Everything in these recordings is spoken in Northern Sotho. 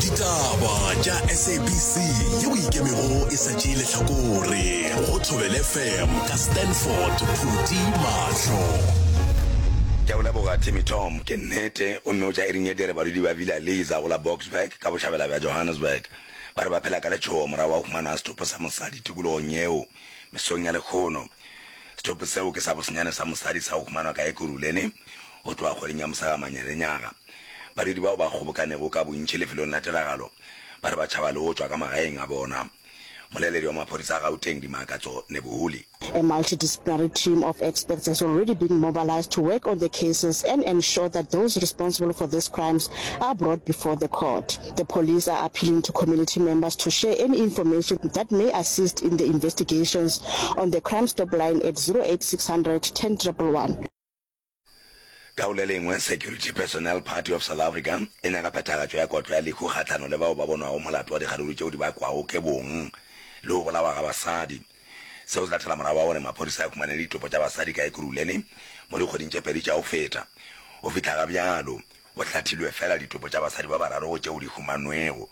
Ditaba tša SABC yeo e ikemego e sa tšee lehlakore go Thobela FM ka Stanford Phuti Mahlo. Ke a go leboga Timmy Tom. Ke nnete, gomme o tša iring ye dire badudi ba Villa Lisa go la Boksburg ka bohlabela bja Johannesburg ba re ba phela ka letšhogo morago ga go humanwa ga setopo sa mosadi tikologong yeo mesong ya lehono. Setopo seo ke sa bosenyane sa mosadi sa go humanwa ka Ekurhuleni go tloga kgweding ya Mosagamanya-lenyaga. Badudi bao ba kgobokanego ka bontši lefelong la tiragalo ba re ba tšhaba le go tšwa ka magaeng a bona. Moleledi wa maphodisa a Gauteng, Dimakatso Nebuhuli. A multidisciplinary team of experts has already been mobilized to work on the cases and ensure that those responsible for these crimes are brought before the court. The police are appealing to community members to share any information that may assist in the investigations on the Crime Stop line at 08600 10 111. Ka go le lengwe, Security Personnel Party of South Africa e nyaka phethagatšo ya kotlo ya lehu kgahlano le bao ba bonwago molato wa dikgaruru tšeo di bakwago ke bong le go bolawa ga basadi. Seo se latela morago ga gore maphodisa a humane ditopo tša basadi ka Ekurhuleni mo dikgweding tše pedi tša go feta. Go fihla ga bjalo, go hlathilwe feela ditopo tša basadi ba bararo go tšeo di humanwego.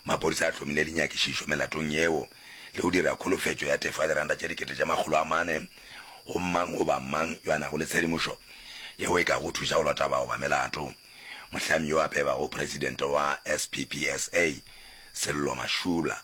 Maphodisa a hlomile dinyakišišo melatong yeo le go dira kholofetšo ya tefo ya diranta tše 400,000 go mang goba mang yo a nago le tshedimošo yeo e kago thuša go lota bao ba melato. Mohlami yo a pebago presidente wa SPPSA, Sello Mashula.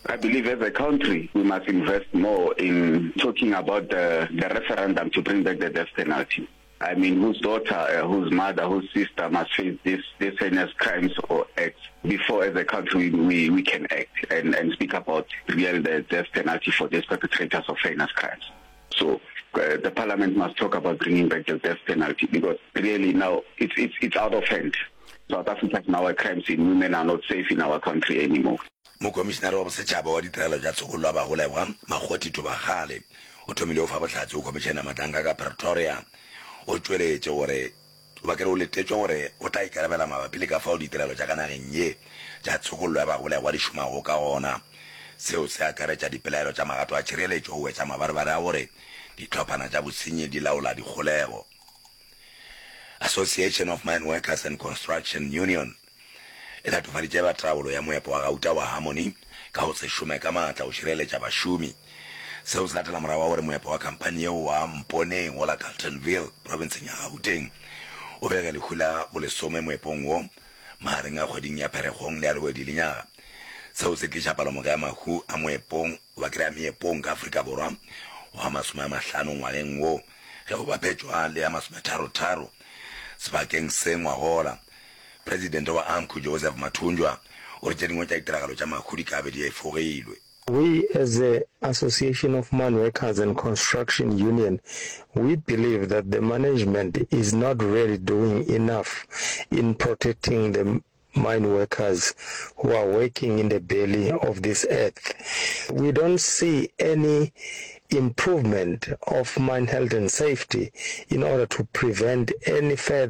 I believe as a country we must invest more in talking about the the referendum to bring back the death penalty. I mean whose daughter, uh, whose mother, whose sister must face this this heinous crimes or acts before as a country we, we, we can act and, and speak about real the death penalty for these perpetrators of heinous crimes. So uh, the parliament must talk about bringing back the death penalty because really now it's, it's, it's out of hand. South Africa is now a crime scene. Women are not safe in our country anymore. Mokomišenare wa Bosetšhaba wa Ditirelo tša Tshokollo ya Bagolegwa, Makgothi Thobakgale, o thomile go fa bohlatse go Khomišene ya Matlanka ka Pretoria. O tšweletše gore goba ke re o letetšwe gore o tla ikarabela mabapi le ka fao ditirelo tša ka nageng ye tša tshokollo ya bagolegwa di šomago ka gona. Seo se akaretša dipelaelo tša magato a tšhireletšo go wetša mabarebare a gore dihlophana tša bosenyi di laola dikgolego. Association of Mine Workers and Construction Union e latofaditše ba taolo ya moepo wa gauta wa Harmony ka go se šome ka maatla go šireletša bašomi. Seo se latela morago ga gore moepo wa khamphani yeo wa Mponeng go la Carltonville profenseng ya Gauteng o bege lehu la bolesome moepong wo magareng a kgweding ya Pherekgong le ya Lewedi lenyaga. Seo se tliša palomoka ya mahu a moepong goba ke re a meepong ka Afrika Borwa go a 50 ngwageng wo ge go bapetšwa le ya masometharotharo sebakeng se ngwagola. Presidente wa AMCU Joseph Mathunjwa o re tše dingwe tša ditiragalo tša mahu di ka be di efogilwe. We as the Association of Mine Workers and Construction Union, we believe that the management is not really doing enough in protecting the mine workers who are working in the belly of this earth. We don't see any improvement of mine health and safety in order to prevent any further.